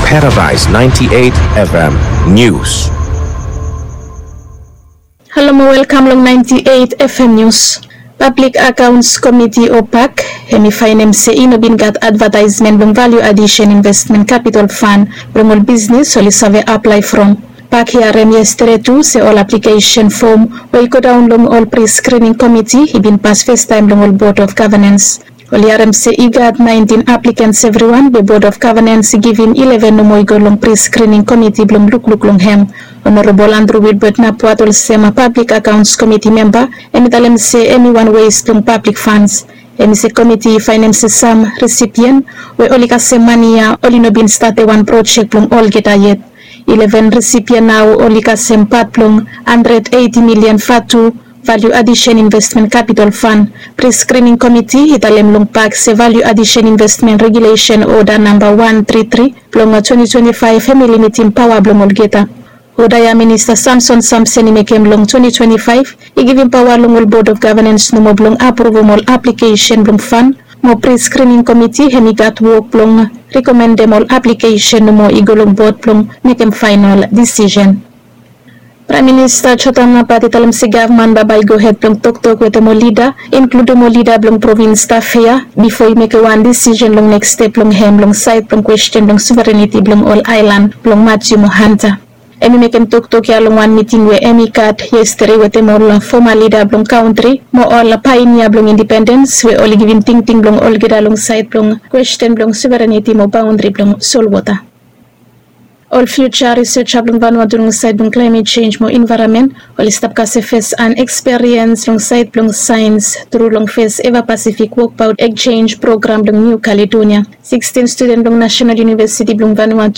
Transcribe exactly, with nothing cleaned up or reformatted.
Paradise ninety-eight F M News. Halo mo welkam long ninety-eight F M News. Pablik Akaons Komiti o pak, hem i faenem se i no bin gat advataesmen blong Value Addition Investment Capital Fund blong ol bisnis oli save aplae from. Pak i harem yestede tu se ol aplikesen fom we i godaon long ol pre-screening komiti i bin pas festaem long ol Board of Governance. Oli harem se i gat naentin aplikens evriwan, be Board of Governance i givim ileven nomo i go long pre-screening komiti blong lukluk long hem. Honorable Andrew Wilbert Napuat, olsem Pablik Akaons Komiti memba, hem i talem se hem i wan wes blong pablik fans. Hem i se komiti i faenem se sam risipien we oli kasem mane ya oli no bin stap wan projek blong olgeta yet. Ileven risipien nao oli kasem pat blong handred eiti milian vatu Value Addition Investment Capital Fund. Pre-screening komiti i talem long pak se Value Addition Investment Regulation Order namba wan tri tri blong twenti twenti faef hem i limitim paoa blong olgeta. Oda ya Minista Samson Samson i mekem long twenti twenti faef i givim paoa long ol Board of Governance nomo blong apruvum ol aplikesen blong fund. Mo pre-screening komiti hem i gat wok blong rekomendem ol aplikesen nomo i go long bod blong mekem faenol disisen. Praem Minista Jotam Napat i talem se gavman bambae i gohed blong toktok wetem ol lida, inkludum ol lida blong provins stap ya, bifo i mekem wan disisen long neks step blong hem long saed blong kwesten blong sovereniti blong ol aelan blong Matthew mo Hunter. Hem i mekem toktok ya long wan miting we hem i gat yestede wetem ol foma lida blong kantri mo ol paenia blong indipendens we oli givim tingting blong olgeta long saed blong kwesten blong sovereniti mo baondri blong solwota. Ol fiuja riseja blong Vanuatu long saed blong klaemet jenj mo envaeronmen oli stap kasem fes han eksperiens long saed blong saens tru long fes eva Pasifik wokbaot ekjenj program blong Niu Kaledonia. Sikstin studen blong Nasenal Univesiti blong Vanuatu